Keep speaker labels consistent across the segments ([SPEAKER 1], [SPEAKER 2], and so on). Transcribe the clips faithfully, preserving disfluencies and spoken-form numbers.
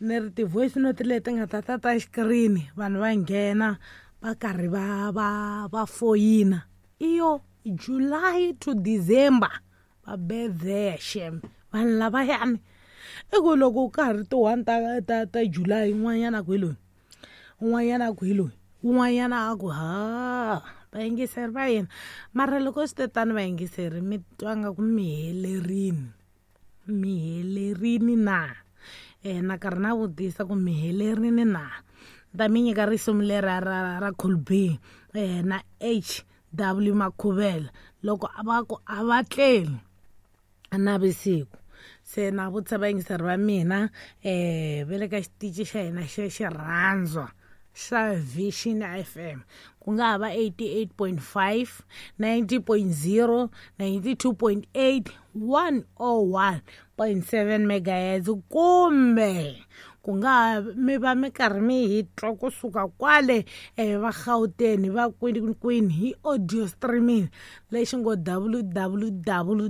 [SPEAKER 1] Ni ri ti-voice note leti nga ta ta ta xikirini, vanhu va nghena va karhi va va va foyina, iyo July to December va bedzeya xem vanhu lavayani. I ku loko ka ha ri ti-one ta ta ta July, un'wanyana a ku hi loyi, un'wanyana a ku hi loyi, un'wanyana a ku ha vayingiseri va yena. Mara loko swi te tani, vayingiseri, mi twa nga ku mi helerini, mi helerini na? um na karhi na vutisa ku mi helerini na? Ta mi nyika risimu lera ra ra Cool B um na H W Makhuvela, loko va ku a va tleli navusiku. Se na vutisa vayingiseri va mina um va le ka xitichi xa hina xe xirhandzwa xa Vision F M, ku nga ha va eighty-eight point five, ninety point zero, ninety-two point eight, one oh one point seven megahertz, kumbe ku nga ha mi va mi karhi mi hi twa kusuka kwale um va Gauteng, va kwini kwini, hi audio streaming lexi ngo W W W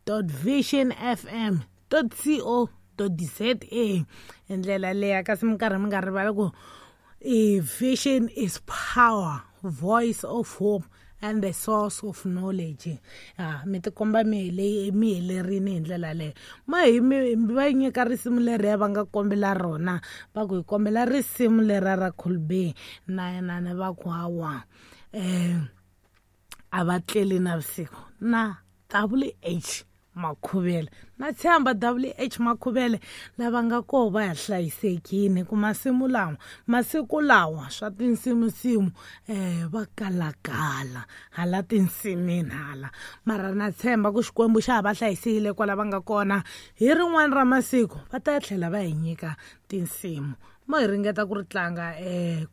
[SPEAKER 1] dot vision F M dot co dot za hi ndlela leya. Kasi mi karhi mi nga rivali ku i vision is power, voice of hope and the source of knowledge. Ha mi tikomba mi hele mi helerini hi ndlela leyo. Ma hi mi va nyika risimu leriya va nga kombela rona, va ku hi kombela risimu lera ra Cool B na na na va ku hawa um a va tleli navusiku na W H Makhuvele. Na tshemba W H Makhuvele lava nga koho va ya hlayisekini, ku masimu lawa, masiku lawa swa tinsimusimu um va kalakala hala tinsimini hala. Mara na tshemba ku Xikwembu xa ha va hlayisile kwala va nga kona. Hi rin'wana ra masiku va ta tlhela va hi nyika tinsimu. Mo hi ringeta ku ri tlanga um